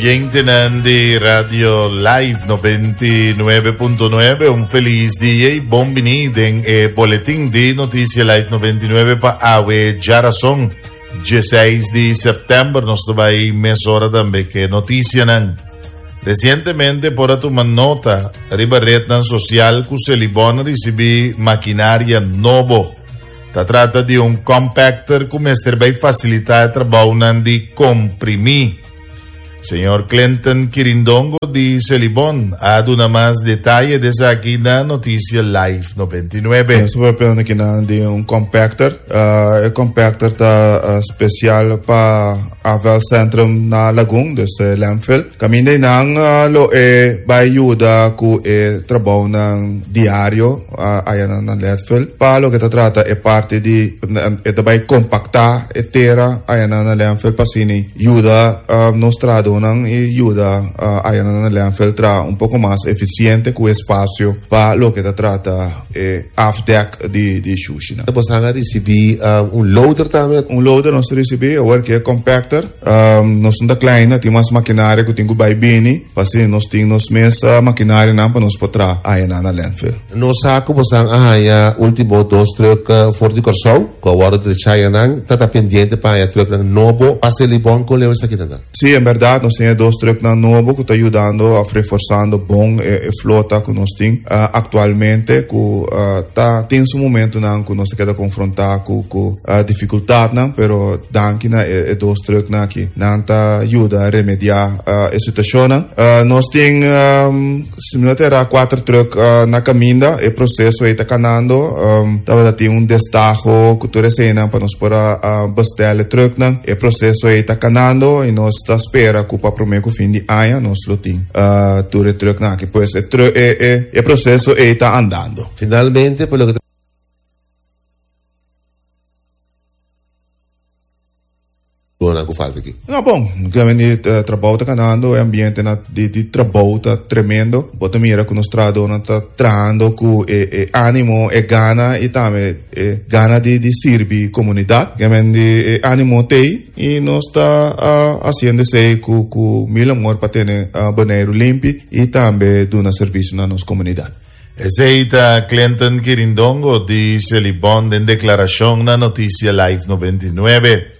Oyentenan di Radio Live 99.9, un feliz dia y bon bini den e boletin di Noticia Live 99 pa awe djarason 16 di september. Nos ta bai mesora tambe ke noticianan. Recientemente por a tuma nota riba rednan social ku Selibon a ricibi maquinaria nobo. Ta trata di un compactor ku mester bai fasilitá e trabounan di komprimí. Señor Clinton Kirindongo di Selibon a duna mas detaye di esaki na Noticia Live 99. Nos por papia akinan di un compactor. E compactor ta special pa afvalcentrum na Lagun, dus e landfill. Caminda einan lo e bai yuda cu e trabounan diario. Aya na landfill. Pa loke ta trata e parti di e ta bai compacta e tera aya na landfill pa asina yuda nos trahadornan y yuda aya na landfill traha un poco mas eficiente cu espacio pa loke ta trata e afdek di shushinan. Boso a ricibi un loader tambe? Un loader nos a ricibi, awor ki e compactor. Nos no ta klein, tin mas makinaria ku tin ku bai bini, pa asina nos tin nos mes makinarianan pa nos por traha ayanan na landfill. Nos sa ku bosan a haña último dos trùk for di Kòrsou ku a wòrdu drecha ayanan. Ta ta pendiente pa haña trùknan nobo pa Selibon? Kon leu esakinan ta? Sí, en bèrdat nos tin e dos trùknan nobo ku ta yudando òf reforsando bon e flota ku nos tin aktualmente ku ta tin su momentunan ku nos ta keda konfrontá ku ku difikultatnan, pero Danki na e dos trucknan aki. Nan ta yuda remediá e situashonnan. Nos tin, si mi no ta erá, kuater truck na kaminda. E proseso ei ta kanando. Tabata tin un destaho ku tur eseinan pa nos por a bestèl e trucknan. E proseso ei ta kanando i nos ta spera ku pa promé ku fin di aña nos lo tin tur e trucknan aki. Pues e proseso ei ta andando. Finalmente, pa loke ta. Dona ku falta aki. No, bon, di trabou ta kanando, e ambiente na di di trabou ta tremendo. Bo ta mira ku nos trahadónan ta trahando ku e e ánimo, e gana i tambe e gana di di sirbi komunidat. Di e ánimo t'ei i nos ta hasiendo esei ku ku mil amor pa tene Boneiru limpi i tambe duna servisio na nos komunidat. Esei ta Clinton Kirindongo di Selibon den deklarashon na Noticia Live 99.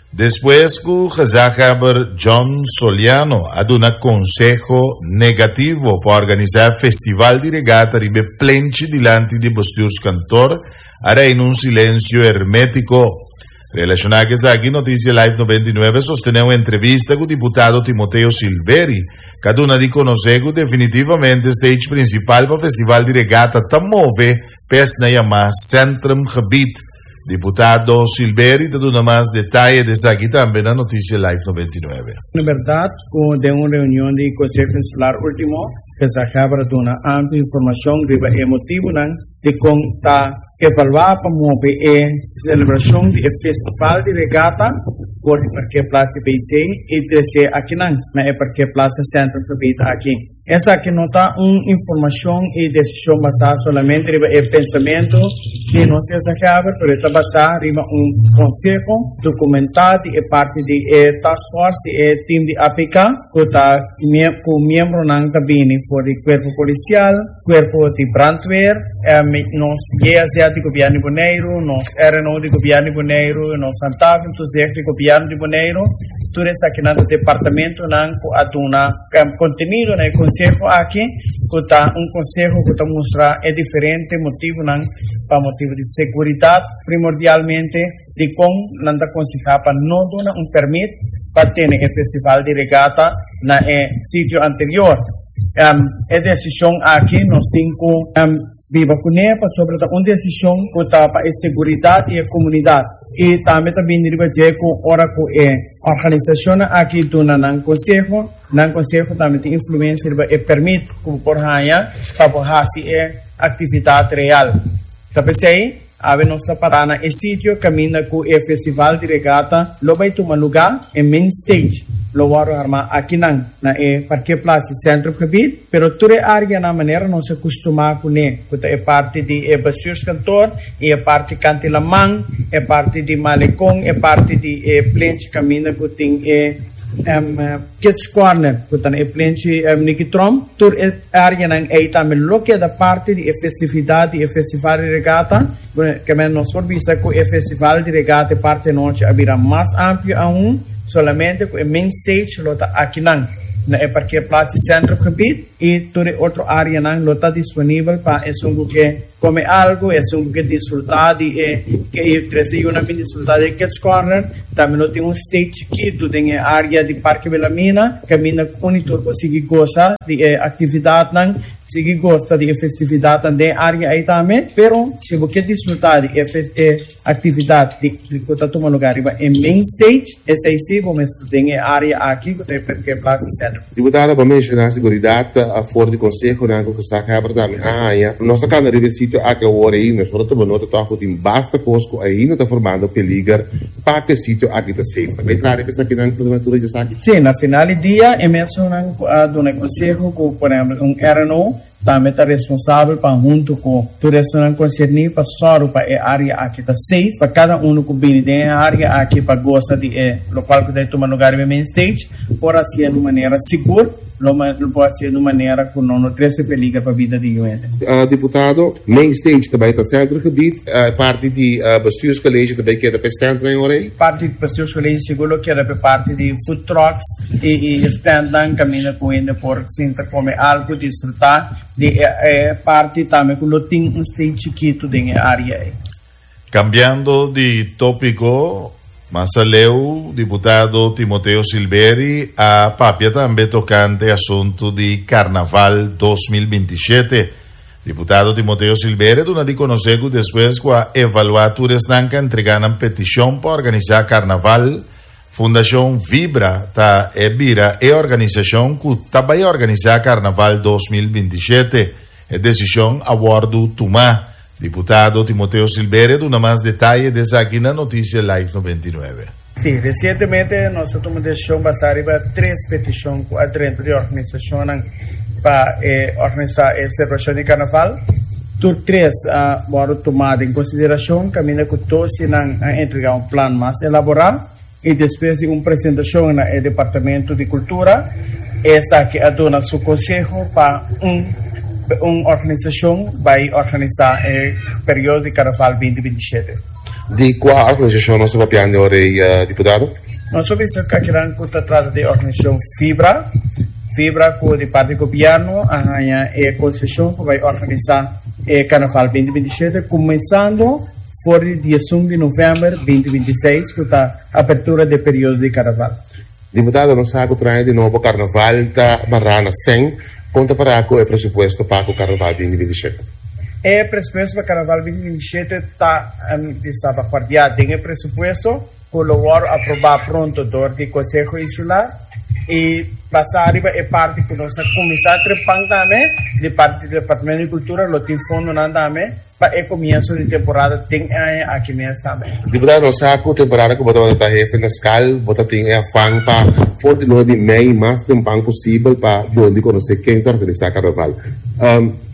Despues ku gezaghebber John Soliano a duna konseho negativo pa organisá festival di regata riba e plenchi dilanti di bestuurskantoor, a reina un silensio hermétiko. Relashoná ku esaki, Noticia Live 99 a sostené un entrevista ku diputado Timoteo Silveri, ku a duna di konosé ku definitivamente stage prinsipal pa festival di regata ta move pa esna yamá Centrumgebied. Diputado Silveri ta duna mas detaye di esaki tambe na Noticia Live 99. Na bèrdat ku den un reunion di Konseho Insular último, Gezaghebber a duna amplio informashon riba e motibunan Dikon ta evaluá pa move e selebrashon di e festival di regata for di parkeerplaats di BC i tres'é akinan na e parkeerplaats Centrum Gebied aki? Esaki no ta un informashon i desishon basá solamente riba e pensamentu di nos gezaghebber, pero e ta basá riba un konseho dokumentá di e parti di e taskforce i e tim di APK ku ta ku miembronan ta bini for di kuerpo polisial, Kuerpo di Brandweer, nos JSZ di Gobièrnu di Boneiru, nos RNO di Gobièrnu di Boneiru, nos Handhavingtoezicht di Gobièrnu di Boneiru, tur esakinan ta departamentonan ku a duna kontenido na e konseho aki, ku ta un konseho ku ta mustra e diferente motibunan pa motibu di seguridat primordialmente. Dikon nan ta konsehá pa no duna un pèrmit pa tene e festival di regata na e sitio anterior? E desishon aki nos tin ku biba kuné pasobra ta un desishon ku ta pa e seguridat di e komunidat i tambe ta bini riba dje ku ora ku e organisashonnan aki duna nan konseho, nan konseho tambe tin influensia riba e pèrmit ku bo por haña pa bo hasi e aktividat real. Ta p'esei. Awe nos ta pará na e sitio kaminda ku e festival di regata lo bai tuma lugá, e main stage lo wòrdu armá akinan na e parkeerplaats di Centrumgebied, pero tur e áreanan manera nos a kustumá kuné, ku ta e parti di e bestuurskantoor i e parti kant'i laman, e parti di Malekon, e parti di e plenchi kaminda ku tin e. Kids Corner ku ta na e plenchi Nicky Tromp. Tur e areanan ei tambe lo keda parti di e festividat di e festival di regata. Kemey nos por bisa ku e festival di regata e parti anochi a bira mas amplio aun, solamente ku e main stage lo ta akinan na e parkeerplaats di Centrumgebied i tur e otro areanan lo ta disponibel pa esun ku ke Come algo, esun cu ke disfruta di e ke e trece yunan bin disfruta di e Kids Corner. Tambe lo tin un stage chikitu den e area di Parke Wilhelmina caminda cu un y tur por sigui goza di e actividadnan, sigui gosta di e festividadnan den e area ey tambe. Pero si bo ke disfruta di e e Actividad di cu ta tuma lugar riba e main stage, esey si bo mester den e area aki cu ta e parkeerplaats di Center. Diputado pa menciona seguridad for di consehonan cu gezaghebber tambe a haña. Nos a cana riba e sitio aki awor ei, nos por a tuma nota toch cu tin basta cos cu ainda ta formando peliger pa cu e sitio aki ta safe. Ta bay traha riba esakinan cu natura dje esaki? Si, na final di dia e mesunnan cu a duna e conseho cu por ehempel un RNO Tambe ta responsabel pa huntu ku tur esunnan konserní pa sòru pa e área aki ta safe pa kada unu ku bini den e área aki pa gosa di e lokual ku ta tuma lugar riba e main stage por hasié di un manera sigur, lo por hasié di un manera ku no no trese peliger pa bida di yu hende. Diputado, main stage ta bai ta Centergebied, e parti di Bestuurscollege ta bai keda pa e standnan e ora ei? Parti di Bestuurscollege sigur lo keda pa e parti di food trucks i e standnan kaminda ku hende por Sinta come algo, disfruta di e parti tambe cu lo tin un stage chikito den e area ey. Cambiando di topico, mas aleu diputado Timoteo Silveri a papia tambe tocante asunto di Carnaval 2027. Diputado Timoteo Silveri a duna di conoce cu despues cu a evalua tur esnan cu a entrega nan peticion pa organisa Carnaval, Fundashon Vibra ta e bira e organisashon ku ta bai organisá Karnaval 2027. E desishon a wòrdu tumá. Diputado Timoteo Silberia a duna mas detaye di esaki na Notisia Live 99. Sí, resientemente nos a tuma desishon basá riba tres petishon ku a drenta di organisashonnan pa e organisá e selebrashon di Karnaval. Tur tres a wòrdu tumá den konsiderashon kaminda ku dos di nan a entregá un plan mas elaborá i despues di un presentashon na e Departamento di Kultura esaki a duna su konseho pa un un organisashon bai organisá e periodo di Karnaval 2027. Di kua organisashon nos ta papiando ora ei, diputado? Nos a bisa ku akinan ku ta trata di organisashon Fibra. Fibra ku di parti gobièrnu a haña e konseshon pa bai organisá e Karnaval 2027 kuminsando for di diesun di novèmber 2026 ku ta apertura di e periodo di Karnaval. Diputado, nos sa ku tur aña di nobo Karnaval ta mará na sèn. Kon ta pará ku e presupuesto pa ku Karnaval 2027? E presupuesto pa Karnaval 2027 ta di salvaguardiá den e presupuesto. ku lo wòrdu aprobá pronto dor di Konseho Insular i basá riba e parti ku nos a kuminsá trepan tambe di parti di Departamento di Kultura lo tin fondonan tambe pa e komienso di temporada den e aña aki mes tambe. Diputado, nos sa ku temporada ku bo tabata ta hefe na skal bo ta tin e afan pa for di luna di mei mas tempan posibel pa duna di konosé ken ta organisá karnaval.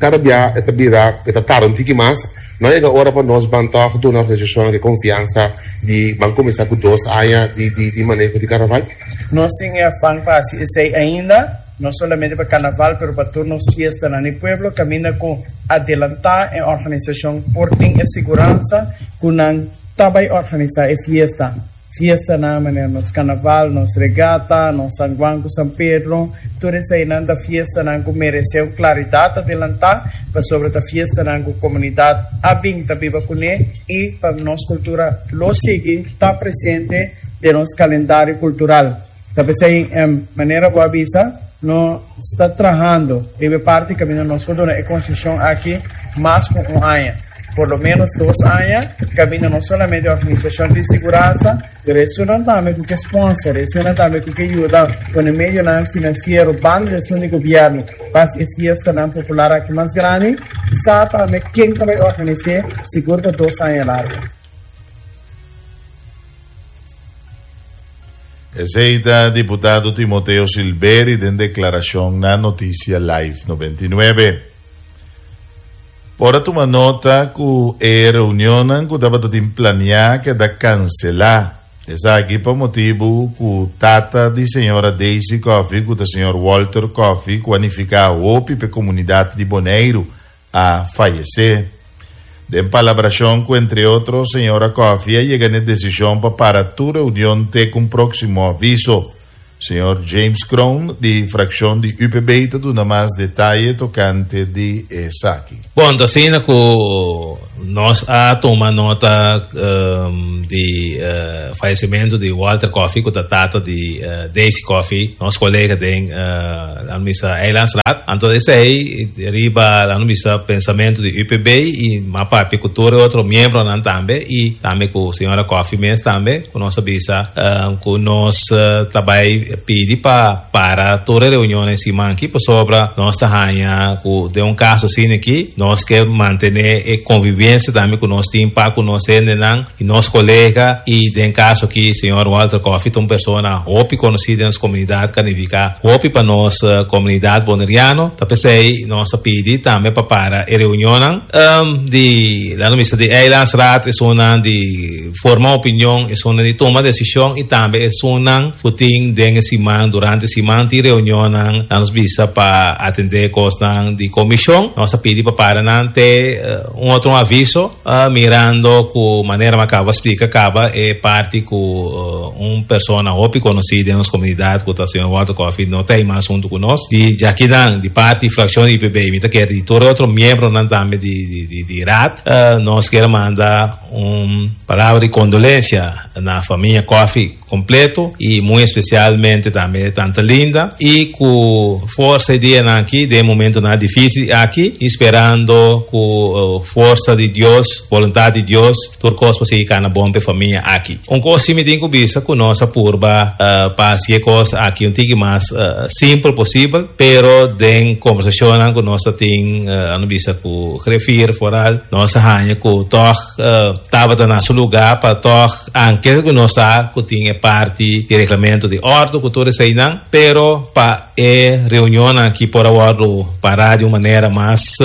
Kada bia e ta bira e ta tarda un tiki mas. No a yega ora pa nos ban tòg duna organisashonnan e konfiansa di ban kuminsá ku dos aña di di maneho di karnaval? Nos tin e afan pa hasi esei ainda, no solamente pa karnaval pero pa tur nos fiestanan di pueblo kaminda ku adelantá e organisashon por tin e siguransa ku nan ta bai organisá e fiesta. Fiestanan manera nos Carnaval, nos Regata, nos San Juan cu San Pedro, tur eseinan ta fiestanan cu merece un claridad adelanta pasobra ta fiestanan cu comunidad a bin ta biba cune y pa nos cultura lo sigui ta presente den nos calendario cultural. Ta p'esei manera bo a bisa nos ta trahando riba e parti caminda nos por duna e concesion aki mas cu un aña. Por lo menos dos aña caminda no solamente organisacion di siguransa, pero esunnan tambe cu ke sponsor, esunnan tambe cu ke yuda pone medionan financiero banda di esun di gobierno pa haci e fiestanan popular aki mas grandi, sa tambe ken ta bay organise sigur pa dos aña largo. Esei ta diputado Timoteo Silveri den declaracion na Noticia Live 99. Por a tuma nota cu e reunionnan cu tabata tin planea keda cancela. Esaki pa motibu ku tata di señora Daisy Coffie ku ta señor Walter Coffie ku a nifiká hopi p'e komunidat di Boneiru a fayesé. Den palabrashon ku entre otro señora Coffie a yega n'e desishon pa para tur reunion te ku un próksimo aviso. Señor James Kroon di frakshon di UPB ta duna mas detaye tokante di esaki. Bon, ta asina ku nos a tuma nota di fayesimentu di Walter Coffie, ku ta tata di Daisy Coffie, nos kolega den laat bisa Eilandsraad. Anto esei riba laat bisa pensamentu di UPB i m'a papia ku tur e otro miembronan tambe i tambe ku señora Coffie mes tambe. Ku nos a bisa ku nos ta bai pidi pa para tur e reunionnan siman aki pasobra nos ta haña ku den un kaso asina aki nos ke mantené e konvivensia tambe ku nos tin pa ku nos hendenan i nos kolega i den kaso aki señor Walter Coffie ta un persona hopi konosí den nos komunidat ku a nifiká hopi pa nos komunidat boneriano ta p'esei nos a pidi tambe pa para e reunionnan di laat nos bisa di Eilandsraad esunnan di Forma opinion, esunnan di tuma desishon i tambe esunnan ku tin den e siman, durante e siman tin reunionnan, nan nos bisa pa atendé kosnan di komishon. Nos a pidi pa para nan te un otro un aviso, mirando ku manera mi a kaba splika kaba e parti ku un persona hopi konosí den nos komunidat ku ta señor Walter Coffie no ta ei mas huntu ku nos. Di djakinan di parti frakshon di IPB mi ta kere di tur e otro miembronan tambe di raad nos kier manda Un palabra di kondolensia na famia Coffie kompleto i muy espesialmente tambe tanta Linda i ku forsa e dianan aki den e momentonan difisil aki i sperando ku forsa di Dios, boluntat di Dios tur kos por sigui kana bon pa e famia aki. Un kos si mi tin ku bisa ku nos a purba pa hasi e kos aki un tiki mas simpel posibel pero den kombersashonnan ku nos ta tin a no bisa ku Griffier foral nos a haña ku tòg tabata na su lugá pa tòg anke ku nos sa ku tin e parti di reglamento di òrdu ku tur eseinan pero pa e reunionnan aki por a wòrdu pará di un manera mas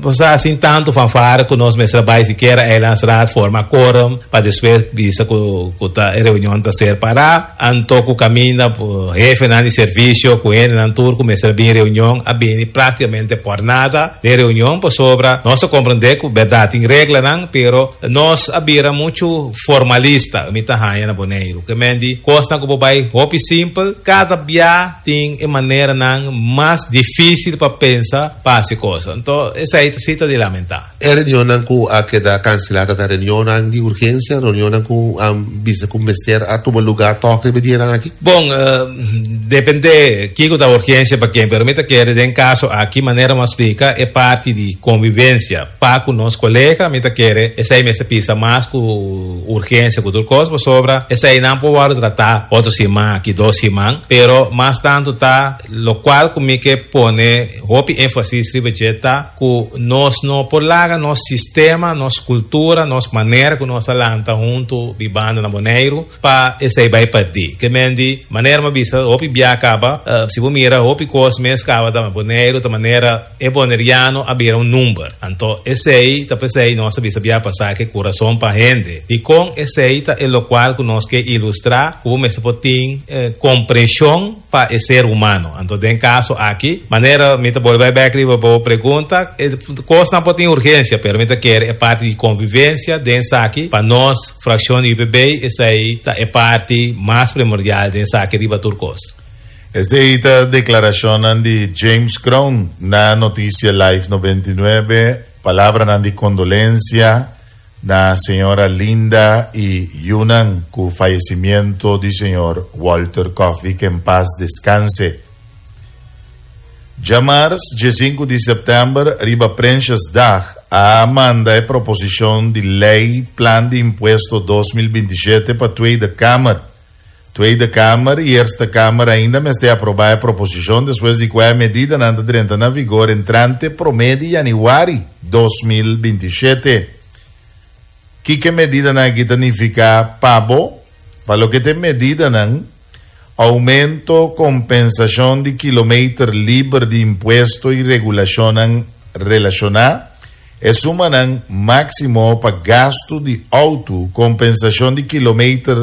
osea sin tantu fanfare ku nos mester a bai sikiera Eilandsraad forma quorum pa despues bisa ku ku ta e reunion ta ser pará. Anto ku kaminda hefenan di servisio ku hendenan tur ku mester a bini reunion a bini práktikamente por nada den reunion pasobra nos a komprendé ku bèrdat tin reglanan pero nos a bira muchu formalista mi ta haña na Boneiru. Ke men di kosnan ku por bai hopi simpel, kada bia tin e maneranan mas difísil pa pensa pa hasi kos. Anto esei ta si ta di lamentá. E reunionnan ku a keda kanselá ta ta reunionnan di urgensia, reunionnan ku a bisa ku mester a tuma lugá tòg riba e dianan aki? Bon, dependé kiko ta urgensia pa ken, pero mi ta kere den kaso aki manera mi a splika e parti di konvivensia. Pa ku nos kolega, mi ta kere esei mester pisa mas ku urgensia ku tur kos, pasobra eseinan por wòrdu tratá otro siman aki, dos siman, pero mas tantu ta lokual ku mi ke pone hopi énfasis riba dje ta ku nos no por laga nos sistema, nos kultura, nos manera ku nos a lanta huntu bibando na Boneiru, Pa esei bai perdí. Ke men di, manera mi a bisa hopi bia kaba, si bo mira hopi kos mes kaba ta Boneiru ta manera e boneriano a bira un number. Anto esei ta p'esei nos a bisa bia pasá ke kurason pa hende. Dikon esei ta e lokual ku nos ke ilustrá ku bo mester por tin komprenshon pa e ser humano. Anto den caso aki, manera mi ta bolbe bai bek riba bo pregunta, e cosnan por tin urgencia, pero mi ta kere e parti di convivencia den esaki pa nos fraccion di UPB, esai ta e parti mas primordial den esaki riba tur cos. Esei ta declaracionnan di James Kroon na Noticia Live 99, palabranan di condolencia Na señora Linda y yunan cu fallecimiento di señor Walter Coffie que en paz descanse. Djamars diesinku di september riba Prinsjesdag a manda e proposicion di ley Plan di Impuesto 2027 pa Tweede Kamer. Tweede Kamer y Eerste Kamer ainda mester aproba e proposicion despues di cua e medidanan ta drenta na vigor entrante prome di januari 2027. Kiko e medidanan aki ta nifica pa bo? Pa loke ta e medidanan, aumento compensacion di kilometer liber di impuesto y regulacionnan relaciona, E sumanan máksimo pa gastu di outo, kompensashon di kilometer.